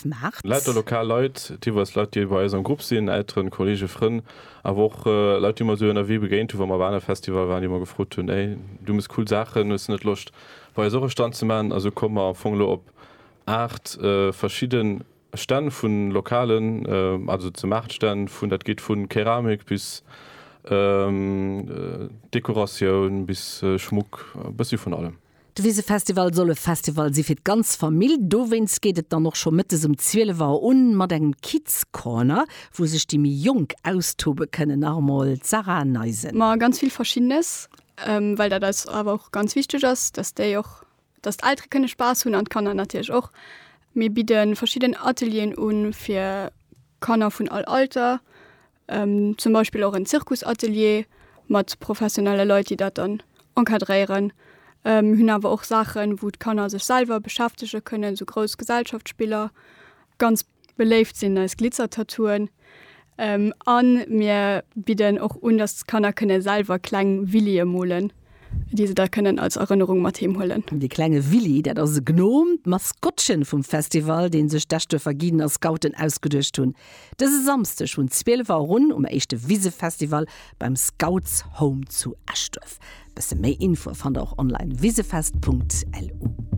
Maart. Lauter lokal Leit, deelweis Leit, déi bei eis am Grupp sinn, Elteren, Kollege, Frënn, awer och Leit, déi mer esou ënnerwee begéint hunn, wa mer op aner Festivalle waren, déi mer gefrot hunn, Ey, du mëss cool Saachen, hues de net Loscht, bei eis och e Stand ze maachen? A sou komme mer am Fong elo op 8 verschidde Stänn vu lokalen, also ze Maartstänn vun, dat geet vu Keramik bis Dekoratioun bis Schmuck, e bëssi vun allem. De Wisefestival soll e Festival si fir d'ganz Famill. Dowéinst geet et dann och scho mëttes um 12 Auer un mat engem Kids Corner, wou sech déi méi Jonk austobe kënnen. Nach emol d'Sarah Neisen. Ma ganz vill Verschiddenes, well dat eis awer och ganz wichteg ass, dass déi och, dass d'Eltere kënne Spaass hunn an d'Kanner natierlech och. Mir bidde verschidden Atelieren u fir Kanner vun all Alter, Zum Beispill och en Zirkusatelier mat professionelle Leit, déi dat dann encadréieren. Mir hunn awer och Saachen, wou d'Kanner sech selwer beschäftege kënnen, esou grouss Gesellschaftsspiller. Ganz beléift sinn eis Glitzertattooen. A mir bidden och un, dass d'Kanner kënne selwer kleng Willie molen, déi se da kënnen als Erënnerung mat heem huelen. De klenge Willy, dat ass e Gnom, d'Maskottchen vum Festival, dee sech d'Eschduerfer Guiden a Scouten ausgeduecht hunn. Dëse Samsdeg vun 12 Auer un um éischte Wisefestival beim Scouts Home zu Eschduerf. Bësse méi Infoe fannt der och online wisefest.lu.